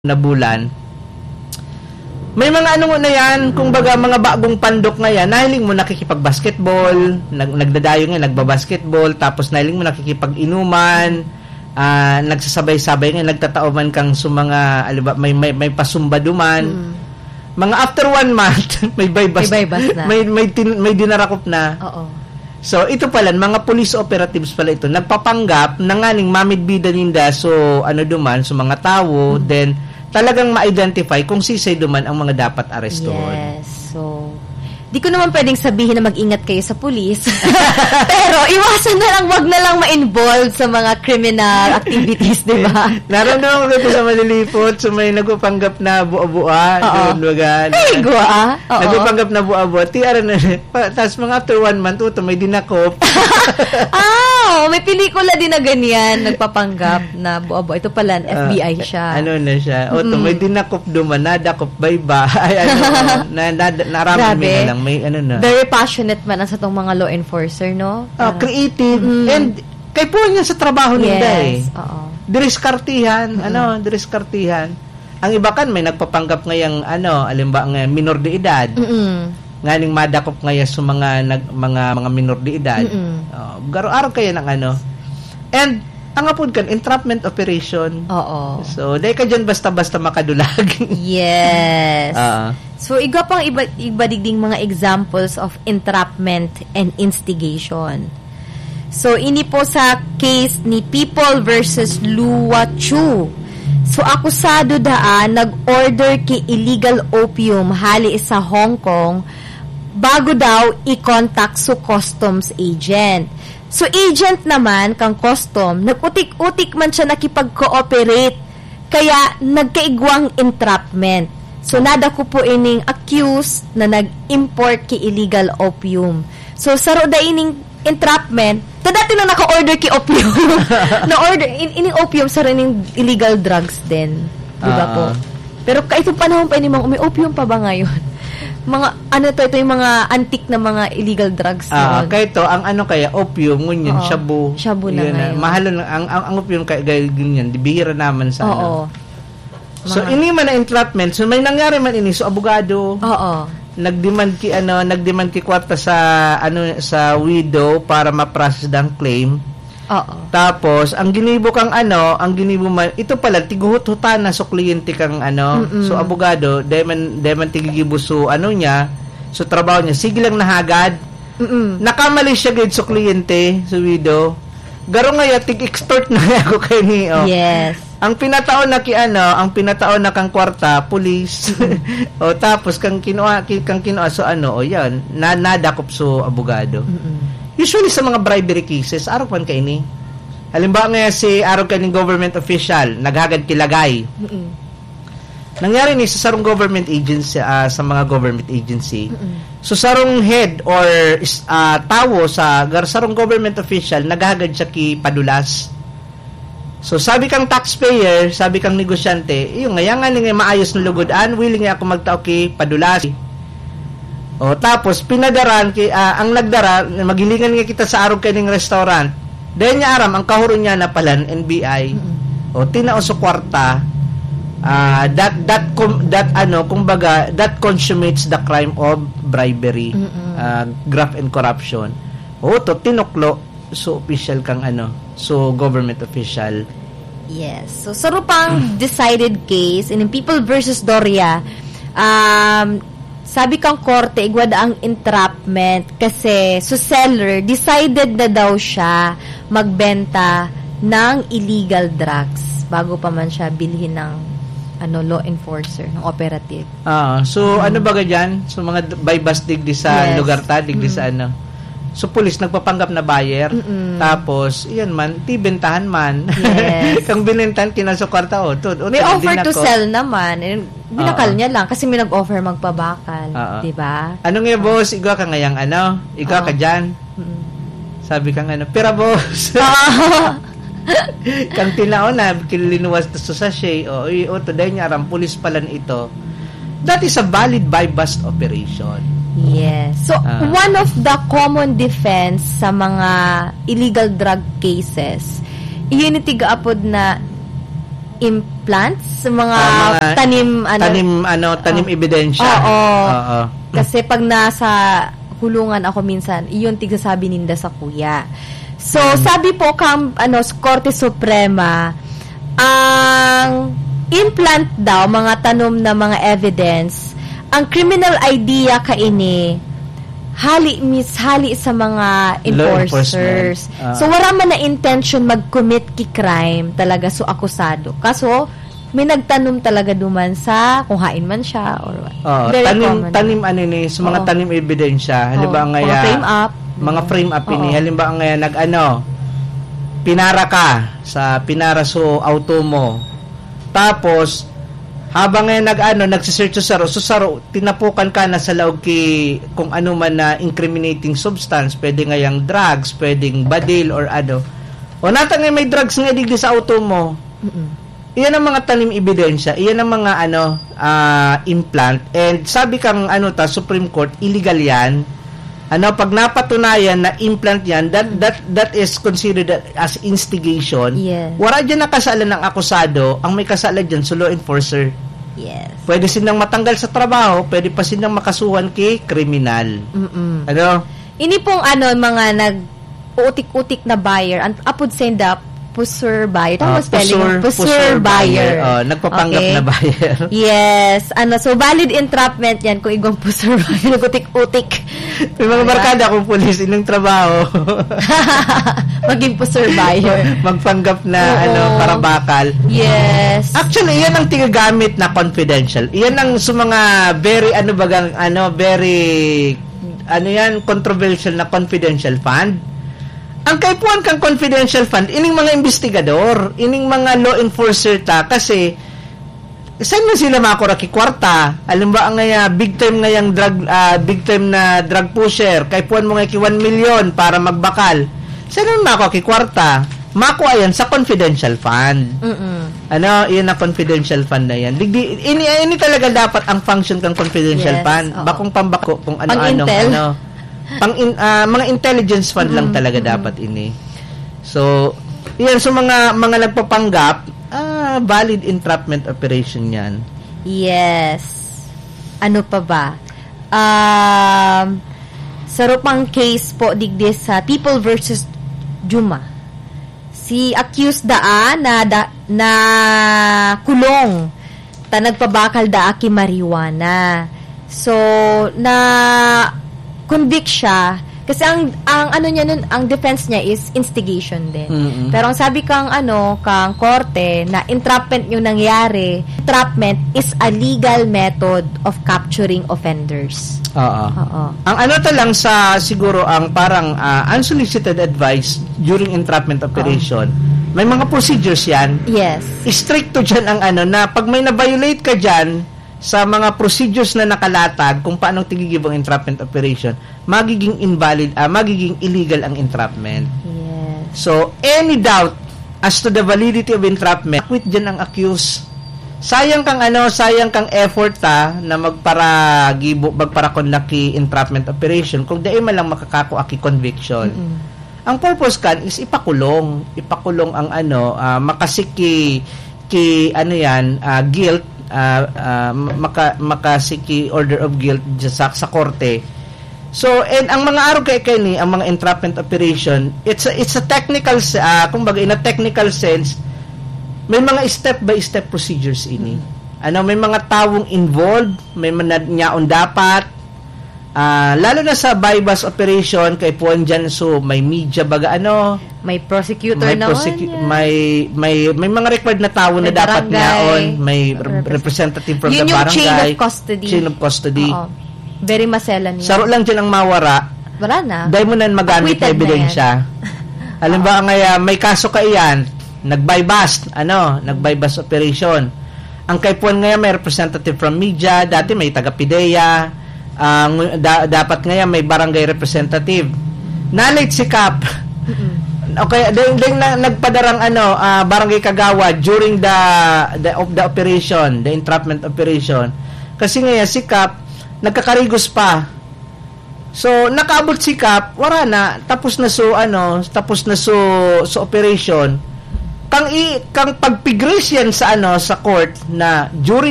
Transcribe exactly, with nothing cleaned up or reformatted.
na bulan. May mga ano na yan, kumbaga, mga bagong pandok na yan, nahiling mo nakikipag-basketball, nag-, nagdadayo nga, nagbabasketball, tapos nahiling mo nakikipag-inuman, ah, nagsasabay-sabay nga, nagtatao man kang sa mga, aliba, may, may, may pasumba duman. Mm. Mga after one month, may baybas, May baybas na. may, may tin-, may dinarakop na. Oo. So, ito pala, mga police operatives pala ito. Nagpapanggap na nganing mamidbidan ninda, so, ano duman, so mga tawo, Mm. then talagang ma-identify kung sisay duman ang mga dapat arestuhon. Yes, so, di ko naman pwedeng sabihin na mag-ingat kayo sa pulis. Pero iwasan na lang, wag na lang ma-involve sa mga criminal activities, di ba? Naramdaman ko ito sa Malilipot, so may nagpapanggap na bua-bua, Oo. doon, baga, Ay, na gwa. Oo. Nagpapanggap na bua-bua. Tiara na, pa, tas mga after one month, uto, may dinakop. Ah, may pelikula din na ganyan, nagpapanggap na bua-bua. Ito pala, Ah, F B I siya. ano na siya? Uto, Mm. may dinakop duman, nadakop, bayba. Ay, ano, na, na, naraman Grabe. mi na lang, may ano na. Very passionate man ang satong mga law enforcer, no? Ah, Parang creative. Mm. And kay po niya sa trabaho ninda eh. Yes, oo. Diriskartihan, Mm-mm. ano, diriskartihan. Ang iba kan may nagpapanggap ngayang, ano, alimbawa nga minor de edad. Mm-mm. Nganing madakop ngaya sa mga nag-, mga, mga minor de edad. Mm-mm. Oh, garo-, araw kaya ng ano. And, ang apod kan, entrapment operation. Oo. So, dahil ka dyan basta-basta makadulag. Yes. Oo. So, igwa pang iba, iba digding mga examples of entrapment and instigation. So, ini po sa case ni People versus Lua Chu. So, akusado daa nag-order ki illegal opium hali sa Hong Kong bago daw i-contact so customs agent. So, agent naman kang custom, nag-utik-utik man siya nakipag-cooperate kaya nagkaigwang entrapment. So, nadakop po ining accused na nag-import ki illegal opium. So, saro da ining entrapment, ta dati na naka-order ki opium. Na-order, in, ining opium, saro ining illegal drugs din. Di ba po? Ah. Pero kaitong panahon pa ini, mga, may opium pa ba ngayon? Mga, ano to, ito yung mga antique na mga illegal drugs Ah, noon. Kaya ito, ang ano kaya, opium, ngunyan, Oo. Shabu. Shabu na Yun na. ngayon. Mahal na, ang, ang, ang opium kaya, kaya ganyan, di bihira naman sa ano. Oo. So, Mga ini man na entrapment. So, may nangyari man ini. So, abogado, Oo. nag-demand ki, ano, nag-demand ki kwarta sa, ano, sa widow para ma-process ang claim. Oo. Tapos, ang ginibo kang, ano, ang ginibo man, ito pala, tiguhut-hutan na so kliyente kang, ano, Mm-mm. so abogado, dahil man, dahil man tigigibo so, ano niya, so trabaho niya, sige lang nahagad. Mm-mm. Nakamali siya gid so kliyente, so widow. Garo ngaya, tig-extort na ako kay ni, oh. Yes. Ang pinataon na ki ano, ang pinataon na kang kwarta, pulis. Mm. O, tapos kang kinua-, ki-, kang kinua-, so ano, o yan, na, nadakop so abogado. Mm-mm. Usually sa mga bribery cases, arog man kaini. Halimbawa nga si arog kaning government official, naghagad ki lagay. Mm-mm. Nangyari ni sa sarong government agency, ah, sa mga government agency. Mm-mm. So, sarong head or is-, ah, tawo sa gar-, sarong government official, naghagad siya ki padulas. So, sabi kang taxpayer, sabi kang negosyante, "Iyo, ngaya nga ni nga maayos na lugod an, willing nga ako magtao ki padulas." O, tapos, pinadaran ki, ah, ang nagdara, maghilingan nga kita sa arog kaning restaurant. Dahil niya aram, ang kahuro niya na palan, N B I. Mm-mm. O, tinao sa kwarta, ah, that, that com-, that, ano, kumbaga, that consummates the crime of bribery, Mm-mm. ah, graft and corruption. O, to, tinuklo. So, official kang ano, so, government official. Yes. So, sa rupang decided case, in People versus Doria, um, sabi kang korte, igwa da ang entrapment kasi so seller, decided na daw siya magbenta ng illegal drugs bago pa man siya bilhin ng, ano, law enforcer, ng operative. Ah, so, Mm. ano baga dyan? So, mga d-, buy-bust digdi sa Yes. lugar ta, digdi Mm. sa ano. So, pulis nagpapanggap na buyer. Mm-mm. Tapos, iyan man, tibentahan man. Yes. Kang binentahan, kinasukwarta, oh, to, oh, May to, offer din to ako. sell naman. Eh, binakal Oo. niya lang kasi may nag-offer magpabakal. Oo. Di ba? Ano nga, boss? Igwa ka ngayang ano? Igwa ka Oo. dyan? Mm. Sabi kang ano, "Pira, boss?" Oo. Kang tinao na, kilinuwas to sa sachet, o, i-, o, to, dahil niya aram, pulis palan ito. That is a valid buy-bust operation. Yes. So, Ah. one of the common defense sa mga illegal drug cases, iyon yung tigaapod na imp-, plants, mga Ah, mga tanim, ano. tanim, ano, tanim Oh. ebidensya. Oo. Oo. Kasi pag nasa kulungan ako minsan, iyon tigsasabi ninda sa kuya. So, Mm. sabi po kang, ano, s-, Korte Suprema, ang implant daw, mga tanom na mga evidence, ang criminal idea kaini, hali mis-, hali sa mga Law enforcement. enforcers. Ah. So, wala man na intention mag-commit ki crime talaga, so akusado. Kaso, may nagtanom talaga duman sa kung hain man siya or what. Oo, Very tanim, common. tanim ano ni, sa mga Oo. tanim ebidensya. Halimbawa Oo, nga mga ya, frame up. mga Mm. frame up ini. Oo. Halimbawa nga ya, nag-ano, pinara ka sa pinara so auto mo. Tapos, habang nga nag-ano, nagsisearch sa saro, so saro, tinapukan ka na sa laog ki kung ano man na incriminating substance, pwede nga yang drugs, pwedeng badil or ano. O nata nga may drugs nga digdi sa auto mo. Mm-mm. Iyan ang mga tanim ebidensya, iyan ang mga ano, ah, implant. And sabi kang ano ta, Supreme Court, illegal yan. Ano, pag napatunayan na implant yan, that, Mm. that, that is considered as instigation. Yes. Wala dyan nakasala ng akusado, ang may kasala dyan, so law enforcer. Yes. Pwede silang matanggal sa trabaho, pwede pa silang makasuhan ki kriminal. Mm-mm. Ano? Ini pong ano, mga nag-uutik-utik na buyer, ang apod senda, pusher buyer. Tama Ah, spelling? pusher, Pusher pusher buyer. buyer. Oh, nagpapanggap Okay. na buyer. Yes. Ano, so valid entrapment yan kung igwang pusher buyer, nag-utik-utik. May mga Diba? barkada akong pulis, inong trabaho. Maging pusher buyer. Magpanggap na, Oo. ano, parabakal. Yes. Actually, yan ang tigagamit na confidential. Yan ang sa mga very, ano bagang, ano, very, ano yan, controversial na confidential fund. Ang kaipuhan kang confidential fund, ining mga investigador, ining mga law enforcer ta, kasi saan man sila makura ki kwarta? Halimbawa nga ya, big time nga yang drug, ah, big time na drug pusher, kaipuhan mo nga ki one million para magbakal. Saan mo makura ki kwarta? Makua yan sa confidential fund. Mm-mm. Ano, yun na confidential fund na yan. Digdi, ini, ini talaga dapat ang function kang confidential Yes, fund. oo. Bakong pambako kung ano-anong Pang-intel. ano. Pang in, ah, mga intelligence fund lang Mm, talaga mm. dapat ini. So, iyan, so mga, mga nagpapanggap, ah, valid entrapment operation yan. Yes. Ano pa ba? Um, saro pang case po digdi sa People versus Juma. Si accused daa na, da, na kulong ta nagpabakal daa ki marijuana. So, na convict siya kasi ang, ang ano niya nun, ang defense niya is instigation din. Mm-mm. Pero ang sabi kang ano, kang korte na entrapment yung nangyari, entrapment is a legal method of capturing offenders. Oo. Oo. Ang ano ta lang sa siguro ang parang, ah, unsolicited advice during entrapment operation, may mga procedures yan. Yes. Istrikto dyan ang ano na pag may na-violate ka dyan sa mga procedures na nakalatag kung paano tigigib ang entrapment operation, magiging invalid, ah, magiging illegal ang entrapment. Yes. So, any doubt as to the validity of entrapment, quit dyan ang accused. Sayang kang ano, sayang kang effort ta na magparagibo, magparakondak ki entrapment operation kung dai man lang makakakua ki conviction. Mm-mm. Ang purpose kan is ipakulong, ipakulong ang ano, ah, makasiki ki ano yan, ah, guilt, ah, ah, maka, makasiki order of guilt sa, sa korte. So, and ang mga arog kay kani, ang mga entrapment operation, it's a, it's a technical se-, ah, kumbaga in a technical sense, may mga step by step procedures ini. Mm. Ano, may mga tawong involved, may mga nyaon dapat, ah, lalo na sa buy-bust operation, kay puwan dyan, so may media baga ano, May prosecutor may na prosecu-, yan. may, may, may mga required na tawo na May dapat barangay. nyaon, may Represent- representative from Yun the yung barangay, chain of custody. chain of custody. Oo. Very maselan yun. Saro lang dyan ang mawara. Wala na. Dahil mo na magamit Acquitted na na ebidensya. yan. Halimbawa Oo. nga, ah, may kaso ka iyan, nag-buy-bust, ano, nag-buy-bust operation. Ang kaipuhan ngayon, may representative from media, dati may taga-PDEA, ang da-, dapat ngayon may barangay representative. Nalit si Kap. Mm-mm. Okay, ding, ding na, nagpadarang ano, ah, barangay kagawad during the, the, of the operation, the entrapment operation. Kasi ngayon, si Kap, nagkakarigos pa. So, nakaabot si Kap, wala na, tapos na so, ano, tapos na so, so operation. kang i kang pagpigris yan sa ano, sa court, na during